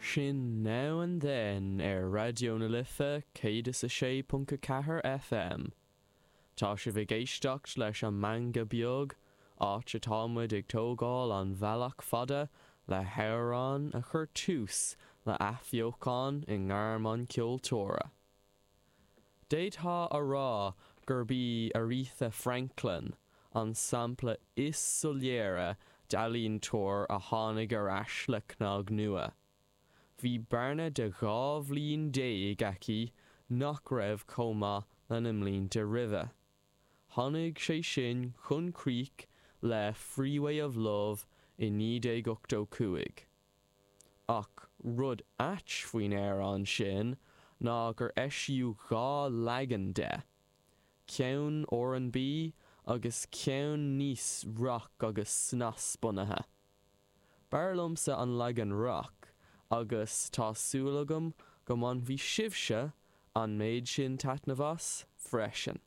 Sin Now and Then ar Raidió na Life 106.4 FM. Tá sibh ag éisteacht leis an Meangadh Beag, áit atá muid ag tógáil an bhealach fada le hamhrán a chuir tús le athbheochan i ngairm an cheoltóra. D'fhéadfá a rá gurb í Aretha Franklin an sampla is soiléire d'ealaíontóir a tháinig ar ais le cnag nua. Bhí bearna de 12 bhliain aici nach raibh chomh maith lena mblianta roimhe. Tháinig sé sin chun críche le Freeway of Love i 1985. Ach rud ait faoin amhrán sin ná gur eisíodh dhá leagan de, ceann R&B agus ceann níos rock agus snas bunaithe. B'fhearr liomsa an leagan rock agus tá súil agam go mbainfidh sibhse an méid sin taitneamh as freisin.